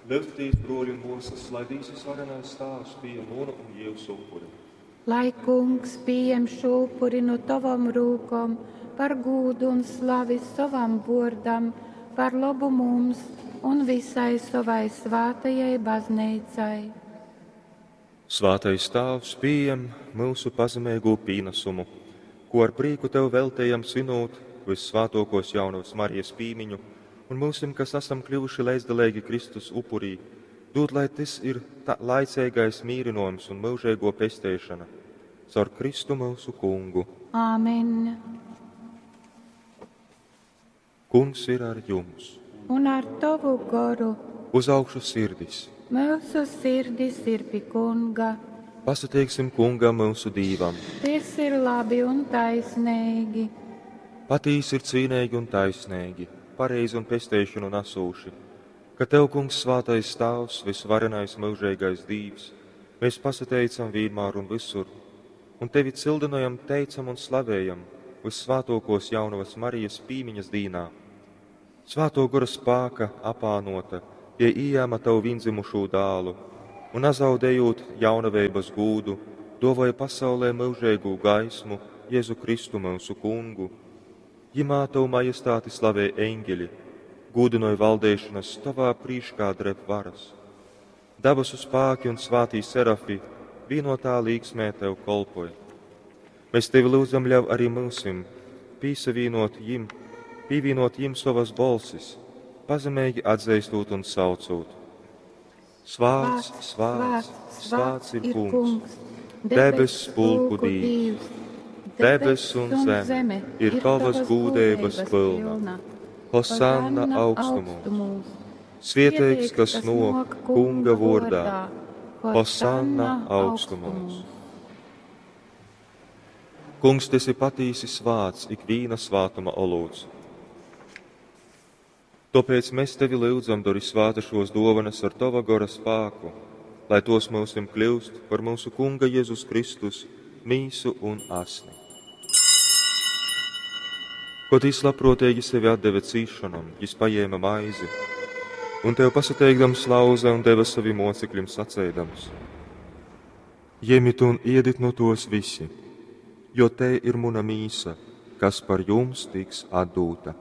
Lyudzitīs, bruoļi un muosys, lai Dīvs Vysvarenais Tāvs pījem munu un jiusu upuri. Lai Kungs pījem šū upuri nu tovom rūkom par gūdu un slavi sovam vuordam, par lobu mums un visai sovai svātajai bazneicai. Svātais Tāvs, pījem myusu pazemeigū pīnasumu, ko ar prīku Tev veltejam svinūt Vyssvātuokuos Jaunavas Marijas pīmiņu, un myusim, kas asam kļuvuši leidzdaleigi Kristus upurī, dūd, lai tys ir ta laiceigais mīrynuojums un myužeiguo pesteišona. Caur Kristu myusu Kungu. Āmen. Kungs ir ar jums. Un ar tovu goru. Uz augšu sirdis. Myusu sirdis ir pi Kunga. Pasateiksim Kungam myusu Dīvam. Tys ir labi un taisneigi. Patīsi ir cīneigi un taisneigi, pareizi un pesteišonu nasūši, ka Tev, Kungs, svātais Tāvs, vysvarenais myužeigais Dīvs, mēs pasateicam vīnmār un visur, un Tevi cildinojam, teicam un slavējam Vyssvātuokuos Jaunavas Marijas pīmiņas dīnā. Svātuo Gora spāka apānota, jei ījēma Tavu vīndzimušū dālu, un nazaudējot jaunaveibas gūdu, duovoja pasaulē myužeigū gaismu, Jēzu Kristu myusu Kungu. Jimā Tavu majestāti slavē eņģeļi, gūdynoj valdeišanas, Tavā prīškā dreb varas. Dabasu spāki un svātī serafi vīnotā līksmē Tev kolpoj. Mēs Tevi lūdzam, ļauj arī myusim pīsavīnot jim, pīvīnot jim sovas bolsis, pazemeigi atzeistot un saucot. Svāts, svāts, svāts ir Kungs, debess pulku Dīvs. Debess un zeme ir Tavas gūdeibas pilna. Hosanna augstumos. Svieteigs, kas nok Kunga vordā. Hosanna augstumos. Kungs, tu esi patīsi svāts, ikvīna svātuma olūts. Tāpēc mēs tevi lūdzam, dori svāta šos dovanas ar tava gora spāku, lai tos mūsim kļūst par mūsu Kunga Jēzus Kristus mīsu un asni. Kod jis labprōteigi sevi atdeve cīšanom, jis pajēma maizi, un tev pasateikdams lauze un deva savim mocekļim saceidams: Jemit un iedit nu tos visi, jo te ir muna mīsa, kas par jums tiks atdūta.